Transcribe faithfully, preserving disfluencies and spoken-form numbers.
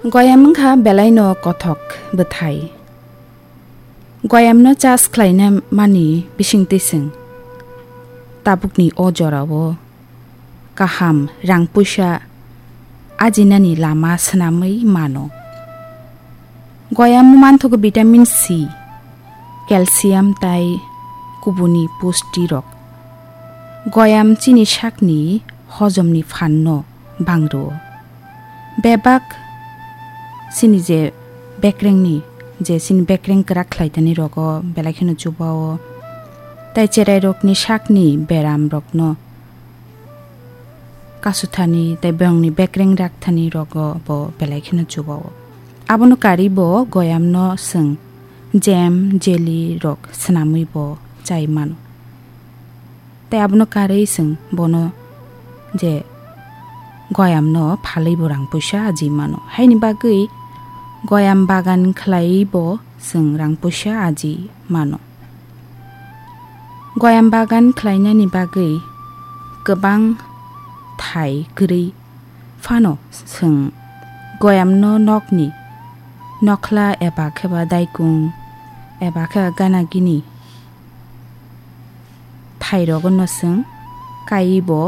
Goyam wngkha belaino kothok bwthai. Goyamno chas khlaina mani bisingtwi chwng tabukni o jorao kaham rang puisa ajinani lama swnamwi mano. Goyam manthogo vitamin C, calcium tai kubuni pusti rok. Goyam chini sakni hojomni phanno bangrwo. Bebak chini je bekrengni, je chini bekreng kwrak khlaitani rogo belai kheno chubao. Tai cherai rokni sakni beram rokno kasuthani tai bongni bekreng rakthani rogo bo belai kheno chubao. Abono karwi bo goyamno chwng jam, jelly rok swnamwi bo chai mano. Tai abono karwi chwng bono je goyamno phalwi bo rang puisa aji mano. Haini bagwi goyam bagan khlaiwi bo chwng rang puisa aji mano. Goyam bagan khlainani bagwi kwbang thai kwrwi phano chwng goyamno nokni nokhla eba khe ba daikung eba khe ba gana gini thai rogo no chwng kaiwi bo